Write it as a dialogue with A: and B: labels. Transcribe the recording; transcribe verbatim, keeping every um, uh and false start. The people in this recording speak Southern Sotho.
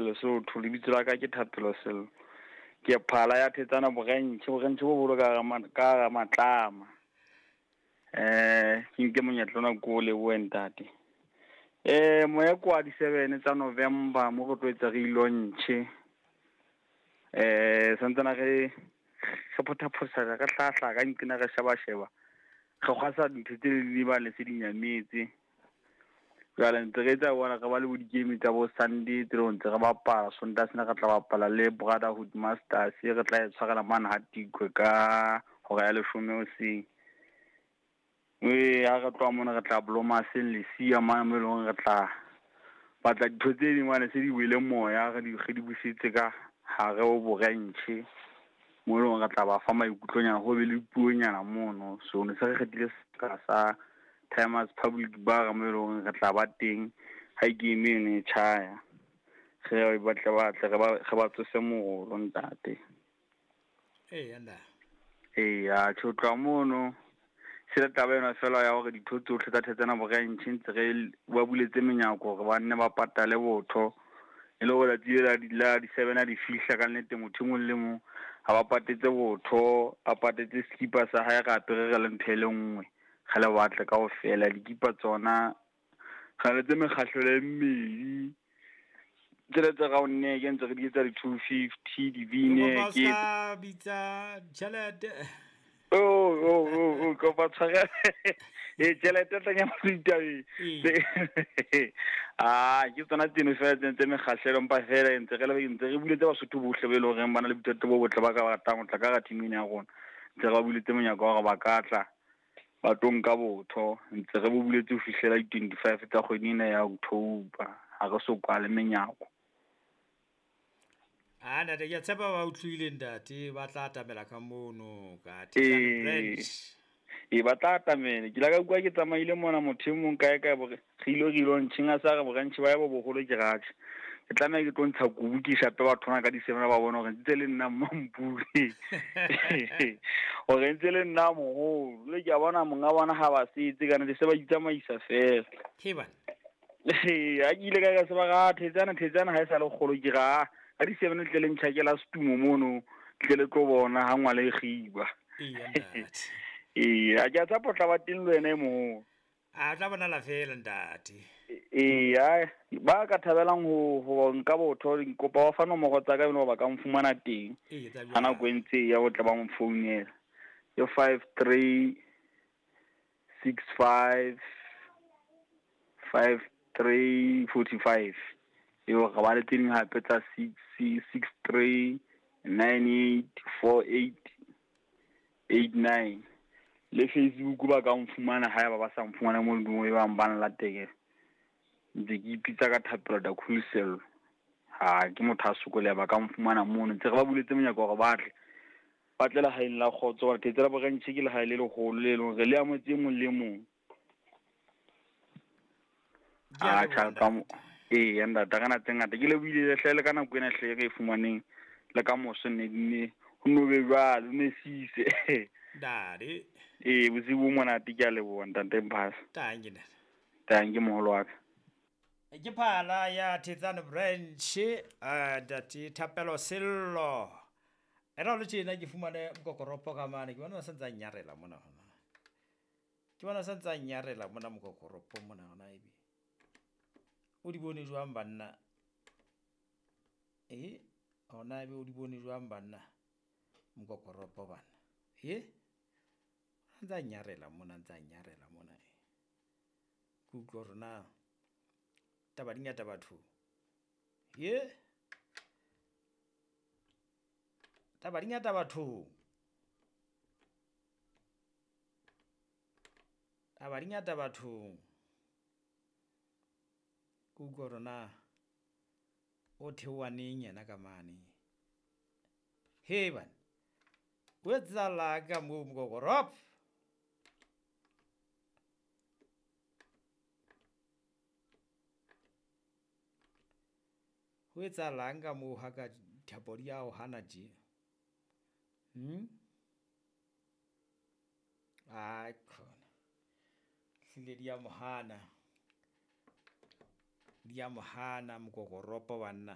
A: Lesotho. Lebitso la ka ke Thapelo Sello. Ke phala ya Thetsane Branch, Branch bo bolo ka ka Matlama. Eh, ke nke monyetla ona ko lebohe ntate. Eh, moya kwa di seven tsa November mo re tlo etsa re launch. Eh, santsana re re photha-photha re hlahla ka nqena re sheba sheba. Re kgwasa dintho tse di ba le se di nyametse. Jwale ntse re etsa bona re ba le bo di-game tsa bo Sunday tse ntse re bapala Sontaha sena re tla bapala le Brotherhood Masters re tla e tshwarela mane ha Tikwe ka hora ya leshome hoseng. E ha re tloha mona re tla Blomaseng Lesia mane mo e leng re tla batla dintho tse ding mane se di wele moya re di re di busetse ka hare ho branch mo e leng re tla ba fa maikutlonyana ho be le puonyana mono. So ne se re kgethile sebaka sa Timers Public Bar mo e leng re tla ba teng ha game eno e tjhaya. Re batle batle re ba re ba tsose morolo ntate.
B: Eya nna.
A: Eya tjho tloha mono se le taba ena fela ya hore ditho tsohle tsa Thetsane Branch ntse re ba buletse menyako hore ba nne ba patale botho. E le hore letsatsi la di la di seven ha di fihla ka nnete motho e mong le mong ha ba patetse botho, a patetse skipa sa hae re apere re le ntho e le nngwe. Re le batle kaofela dikipa tsona re le tse mekgahlelo e mmedi. Tsele tse round neck ntse re di etsa di two fifty di V-neck.
B: Ka bitsa tjhelete.
A: Oh oh oh oh kopa tshwarelo. E tjhelete tla nyama ditabeng. Ah ke tsona tseno fela tse tse mekgahlelo mpa fela ntse re le ntse re buletse Basotho bohle ba e leng hore ba na le boithato bo botle ba ka ratang ho tla ka hara team ena ya rona. Ntse re ba buletse monyako wa hore ba ka tla ba tlo nka botho. Ntse re bo buletse ho fihlela di twenty-five tsa kgwedi ena ya October. Ha re so kwale menyako.
B: Ah ntate ke a tshepa ba utlwile ntate ba tla atamela ka mono ka Thetsane Branch.
A: E ba tla atamela. Ke la ka utlwa ke tsamaile mona motho e mong kae kae bore re ilo re ilo ntsheng a sa re branch ba ya bo boholo ke ratjhe. Ke tlameha ke tlo ntsha kubu ke shape batho bana ka di seven ba bona hore ntse le nna Mampure. Hore ntse le nna moholo. Le ke a bona monga bona ha ba setse kana se ba itsamaisa fela.
B: Ke bana.
A: Eh, ha ke ile ka ka se ba ra Thetsane Thetsane ha e sa le kgolo ke ra ka di seven tle le ntjhakela setumo mono tle le tlo bona ha ngwala e kgiba.
B: Eya ntate.
A: Ee, a ke a tshepa o tla ba teng le wena e moholo.
B: A tla bonala fela ntate.
A: Ee, ba ka thabelang ho ho nka botho kopa ba fa nomoro tsa ka eno ba ka mfumana teng.
B: Ee, tsa
A: Ha nako e ntse e ya ho tla ba mfounela. Ke five three six five five three forty-five. Eo re ba le tse ding hape tsa six six three nine eight four eight eight nine. Le Facebook ba ka mfumana haeba ba sa mfumana mo le e bang ba nlateke. Ntse ke ipitsa ka Thapelo da Cool Sello. Ha ke motho a sokoleha ba ka mfumana mono. Ntse re ba buletse monyako hore ba tle. Ba tle lehaeng la kgotso hore Thetsane Branch ke lehae le leholo le leng hore le amohetse e mong le mong. Ah cha ka mo ee ntate ka na tse ngata ke lebohile hle le ka nako ena hle re e fumaneng le ka moso ne ne ho no be jwalo ne sise.
B: Ntate.
A: Ee bosiu bo monate ke a leboha ntate Mphasa.
B: Tanki ntate.
A: Tanki moholo wa ka.
B: Ke phala ya Thetsane Branch eh ntate Thapelo Sello. Era le tjena ke fumane mokokoropo ka mane ke bona sa ntsa nyarela mona hona. Ke bona sa ntsa nyarela mona mokokoropo mona hona ebe. O di bone jwang banna? Eh, hona ebe o di bone jwang banna? Mokokoropo bana. Eh? Ntsa nyarela mona ntsa nyarela mona. Ke utlwa hore na taba di ngata batho. Ye? Taba di ngata batho. Taba di ngata batho. Ke utlwa hore na o theoha neng yena ka mane. He bana. O etsahala ka moo mokokoropo? Ho etsahalang ka moo ha ka thapo di a o hana tje? Hmm? Ai khona. Hlile di a mo hana. Di a mo hana mokokoropo banna.